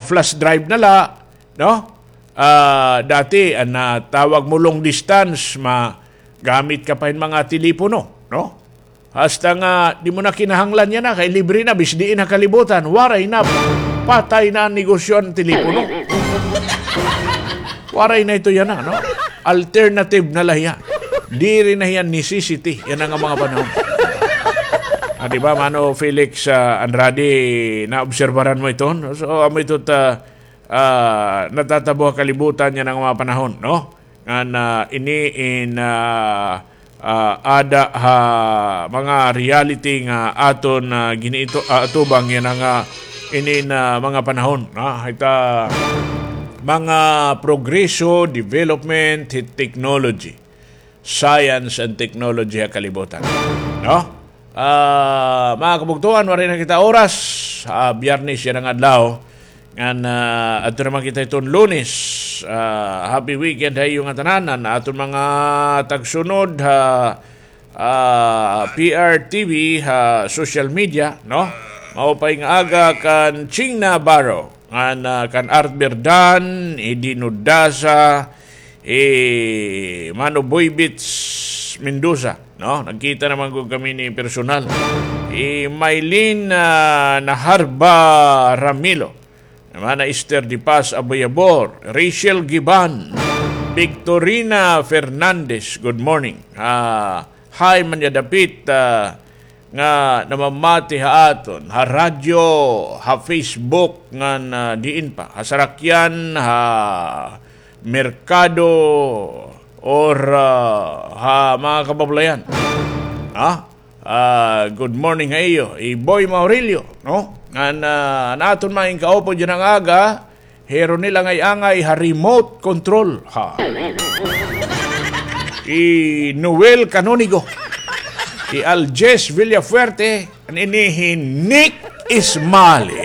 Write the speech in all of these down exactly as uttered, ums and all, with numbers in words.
flash drive na la, no? Ah, dati, an, ah, tawag mo long distance, magamit ka pa hin mga telepono, no? Hasta nga, di mo na kinahanglan yana, kay libre na, bis diin ha kalibutan, waray na, patay na an negosyo an telepono. Waray na ito yana, no? Alternative na la hiya. Diri na hiya necessity yana nga mga panahon. Ah, di ba, Mano Felix, ah, Andrade, naobserbaran mo ito, no? So, amo ito ta, ah, natatabo ha kalibutan yana nga mga panahon, no? Ngan, ah, ini in, ah, ah, ada ha mga reality nga aton, ah, giniito, ah, atubang yana nga, ah, ini na mga panahon, no? Ita mga progreso, development, hit technology, science and technology ha kalibutan, no? Ah, mga kabugtoan, waray na kita oras. Ah, Biyernes yana nga adlaw. Ngan, ah, adto naman kita hiton Lunes. Ah, happy weekend ha iyo ngatanan. An aton mga tagsunod ha, ah, P R T V ha social media, no? Maupay nga aga kan Ching Navarro, ngan, ah, kan Art Berdan, Edino Daza, eh, Mano Boybits Mendoza, no? Nagkita naman gud kami ni personal. Eh, Mylene, ah, Naharba Ramilo, Mana Esther De Paz Aboyabor, Rachel Giban, Victorina Fernandez, good morning. Ah, hi, man ya dapit, ah, nga namamati ha aton, ha radyo, ha Facebook, ngan, ah, diin pa, ha sarakyan, ha merkado, or, ah, ha mga kabablayan. Ha? Ah, good morning ha iyo, Iboy Maurilio, no? Ngan, ah, an aton mga inkaupod yana nga aga, hi Ronel Angay-angay ha remote control, ha. Hi Noel Canonigo. Hi Aljes Villafuerte. An ini hi Nick Ismali.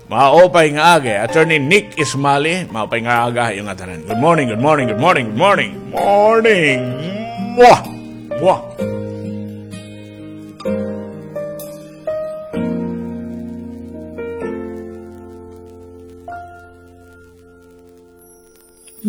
Maupay nga aga, Attorney Nick Ismali. Maupay nga aga ha iyo ngatanan. Good morning, good morning, good morning, good morning. Morning. Mwah! Mwah!